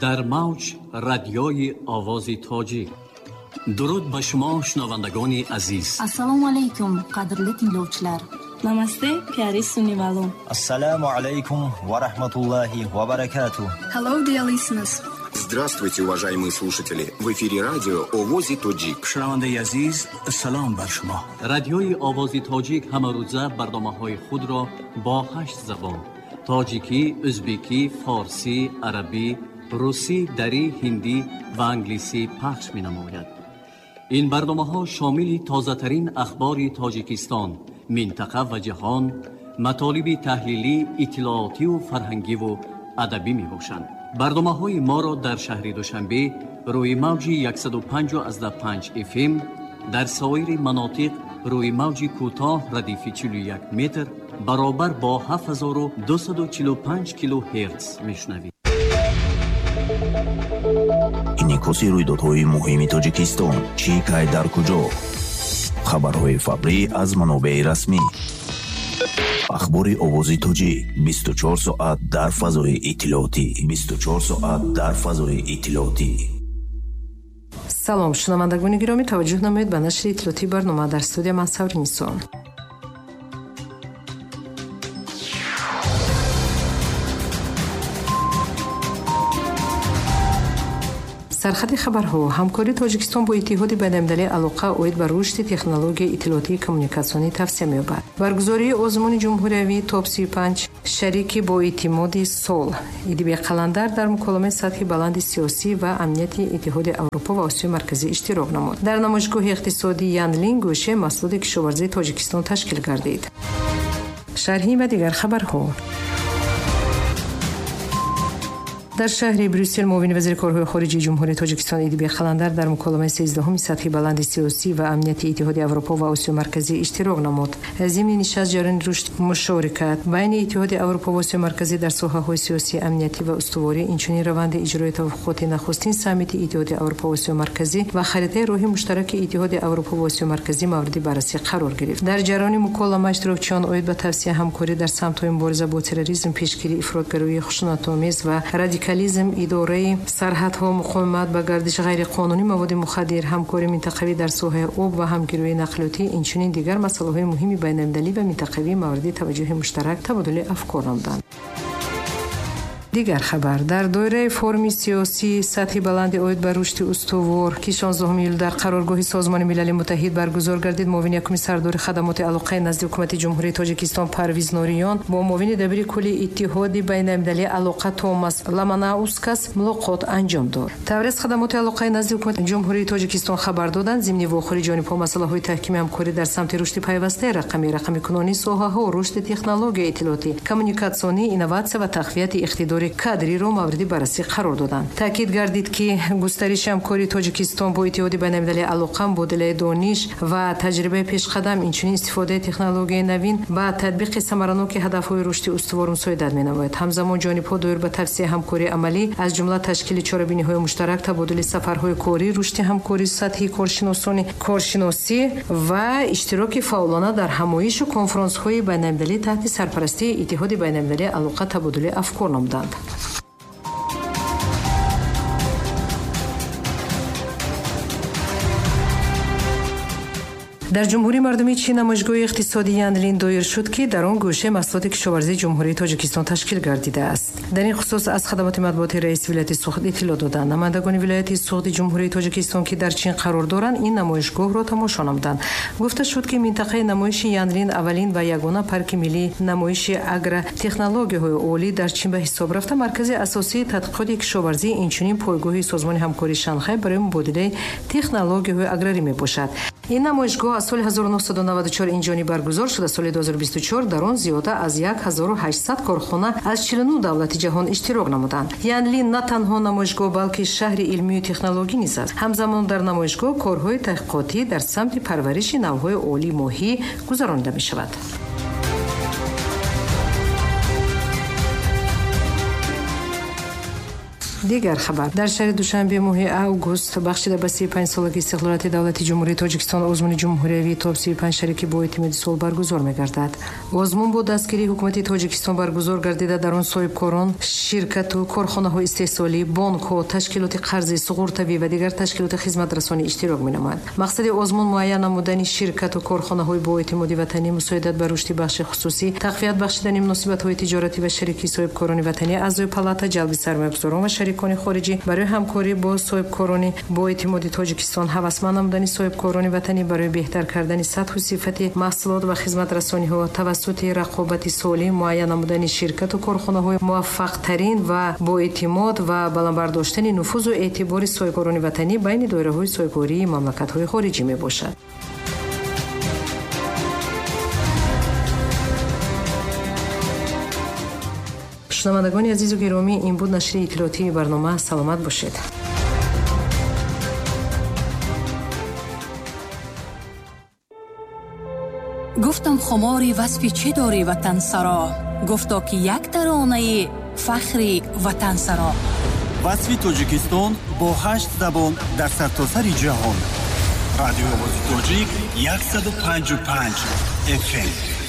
Дар мавҷ радиои Овози Тоҷик. Дуруд ба шумо, шунавандагони азиз. Assalomu alaykum, qadrli tinglovchilar. Намасте, пяри сунивало. Ассаламу алайкум ва рахматуллахи ва баракатуh. Hello, dear listeners. Здравствуйте, уважаемые слушатели! В эфире радио Овози Тоҷик. Шунавандаи азиз, салом бар шумо. Радиои Овози Тоҷик ҳамарӯза барномаҳои худро бо 8 забон: тоҷикӣ, ӯзбекӣ, форсӣ, арабӣ, русӣ, дарӣ, ҳиндӣ ва англисӣ пахш менамояд. Ин барномаҳо шомили тозатарин ахбори Тоҷикистон, минтақа ва ҷаҳон, матолиби таҳлилӣ, иттилоотиву фарҳангиву адабӣ мебошанд. Барномаҳои моро дар шаҳри Душанбе рӯи мавҷи 105,5 FM, дар соири манотиқ рӯи мавҷи кӯтоҳ радифи 41 метр баробар бо 7245 килогерц мешунавед. Инъикоси рӯйдодҳои муҳими Тоҷикистон, чӣ, кай, дар куҷо. Хабарҳои фаврӣ аз манобеи расмӣ. Ахбори Овози Тоҷик 24 соат дар фазои иттилоотӣ. 24 соат дар фазои иттилоотӣ. Салом, шунавандагони гиромӣ, таваҷҷӯҳ намоед ба нашри иттилоотии барнома. Дар студия ман Савринисо. Сархати хабарҳо. Ҳамкории Тоҷикистон бо Иттиҳоди байналмилалии алоқа оид ба рушди технологияи иттилоотии коммуникатсионӣ тавсия меёбад. Баргузории озмуни ҷумҳуриявии топ 35 шарики боэътимоди сол. Идибек Қаландар дар муколамаи сатҳи баланди сиёсӣ ва амнияти Иттиҳоди Аврупо ва Осиёи Марказӣ иштирок намуд. Дар намоишгоҳи иқтисодии Янлин гӯшаи маҳсулоти кишоварзии Тоҷикистон ташкил гардид. Шарҳи ва дигар хабарҳо. Дар шаҳри Брюссел муовини вазири корҳои хориҷии Ҷумҳурии Тоҷикистон Идибек Қаландар дар муколамаи 13-уми сатҳи баланди сиёсӣ ва амнияти Иттиҳоди Аврупо ва Осиёи Марказӣ иштирок намуд. Зимни нишаст ҷараёни рушд мушорикат байни Иттиҳоди Аврупо ва Осиёи Марказӣ дар соҳаҳои сиёсӣ, амниятӣ ва устуворӣ, инчунин раванди иҷрои тавофуқоти нахустин саммити Иттиҳоди Аврупо ва Осиёи Марказӣ ва харитаи роҳи муштараки Иттиҳоди Аврупо ва Осиёи Марказӣ мавриди баррасӣ қарор гирифт. Дар ҷараёни муколама иштирокчиён оид ба тавсия ҳамкорӣ дар самтҳои мубориза бо терроризм, пешгирии ифротгароии хушунатомез ва радикализм, идораи сарҳадҳо, муқовимат ба гардиши ғайриқонунии маводи мухаддир, ҳамкории минтақавӣ дар соҳаи об ва ҳамгироии нақлиётӣ, инчунин дигар масъалаҳои муҳими байналмилалӣ ва минтақавӣ мавриди таваҷҷӯҳи муштарак табодули афкор намуданд. Дигар хабар. Дар доираи форуми сиёсии сатҳи баланди оид ба рушди устувор, ки 16 июл дар қароргоҳи Созмони Милали Муттаҳид баргузор гардид, муовини якуми сардори хадамоти алоқаи назди ҳукумати Ҷумҳурии Тоҷикистон Парвиз Нориён бо муовини дабири кулли Иттиҳоди байналмилалии алоқа Томас Ламанаускас мулоқот анҷом дод. Таврез хадамоти алоқаи назди ҳукумати Ҷумҳурии Тоҷикистон хабар доданд, зимни вохӯри ҷонибҳо масъалаҳои таҳкими ҳамкорӣ дар самти рушди пайвастаи рақамӣ, рақамикунонии соҳаҳо, рушди технологияи иттилоотӣ, коммуникатсионӣ, инноватсия ва тақвияти иқтидори кадриро мавриди баррасӣ қарор доданд. Таъкид гардид, ки густариши ҳамкории Тоҷикистон бо Иттиҳоди байналмилалии алоқа, мубодилаи дониш ва таҷрибаи пешқадам, инчунин истифодаи технологияи навин ба татбиқи самараноки ҳадафҳои рушди устувор мусоидат менамояд. Ҳамзамон ҷонибҳо доир ба тавсияи ҳамкории амалӣ, аз ҷумла ташкили чорабиниҳои муштарак, табодули сафарҳои корӣ, рушди ҳамкории сатҳи коршиносӣ ва иштироки фаъолона дар ҳамоишу конфронсҳои байналмилалӣ таҳти сарпарастии Иттиҳоди байналмилалии алоқа табодули афкор намуданд. Дар Ҷумҳурии Мардумии Чин намоишгоҳи иқтисодии Янлин доир шуд, ки дар он гӯшаи маҳсулоти кишоварзии Ҷумҳурии Тоҷикистон ташкил гардидааст. Дар ин хусус аз хадамоти матбуоти раиси вилояти Суғд иттилоъ доданд. Намояндагони вилояти Суғди Ҷумҳурии Тоҷикистон, ки дар Чин қарор доранд, ин намоишгоҳро тамошо намуданд. Гуфта шуд, ки минтақаи намоиши Янлин аввалин ва ягона парки миллии намоиши агротехнологияҳои олӣ дар Чин ба ҳисоб рафта, маркази асосии тадқиқоти кишоварзӣ, инчунин пойгоҳи Созмони ҳамкории Шанхай барои мубодилаи технологияҳои аграрӣ мебошад. Ин намоишгоҳ аз соли 1994 инҷониб баргузор шуда, соли 2024 дар он зиёда аз 1800 корхона аз 49 давлати ҷаҳон иштирок намуданд. Янлин на танҳо намоишгоҳ, балки шаҳри илмию технологӣ низ аст. Ҳамзамон дар намоишгоҳ корҳои таҳқиқотӣ дар самти парвариши навъҳои олии моҳӣ гузаронида мешавад. Дигар хабар. Дар шаҳри Душанбе моҳи август бахшида ба 35-солагии истиқлолияти давлати Ҷумҳурии Тоҷикистон озмуни ҷумҳуриявии топ 35 шарики боэътимоди сол баргузор мегардад. Озмун бо дастгирии ҳукумати Тоҷикистон баргузор гардида, дар он соҳибкорон, ширкату корхонаҳои истеҳсолӣ, бонкҳо, ташкилоти қарзӣ, суғуртавӣ ва дигар ташкилоти хизматрасонӣ иштирок менамоянд. Мақсади озмун муайян намудани ширкату корхонаҳои боэътимоди ватанӣ, мусоидат ба рушди бахши хусусӣ, тақвият бахшидани муносибатҳои тиҷоратӣ ва шарикии соҳибкорони ватанӣ, аъзои палата, ҷалби сармоягузорон ва шарикони хориҷӣ барои ҳамкорӣ бо соҳибкорони боэътимоди Тоҷикистон, ҳавасманд намудани соҳибкорони ватанӣ барои беҳтар кардани сатҳу сифати маҳсулот ва хизматрасониҳо тавассути рақобати солим, муайян намудани ширкату корхонаҳои муваффақтарин ва боэътимод ва баланд бардоштани нуфузу эътибори соҳибкорони ватанӣ байни доираҳои соҳибкории мамлакатҳои хориҷӣ мебошад. Шунавандагони азизу гиромӣ, ин буд нашри иттилоотии барнома. Саломат бошед. Гуфтам хумори васфи чӣ дорӣ ватансаро, гуфто ки як таронаи фахри ватансаро. Васфи Тоҷикистон бо 8 забон дар сартосари ҷаҳон. Радиои Овози Тоҷик 105,5 FM.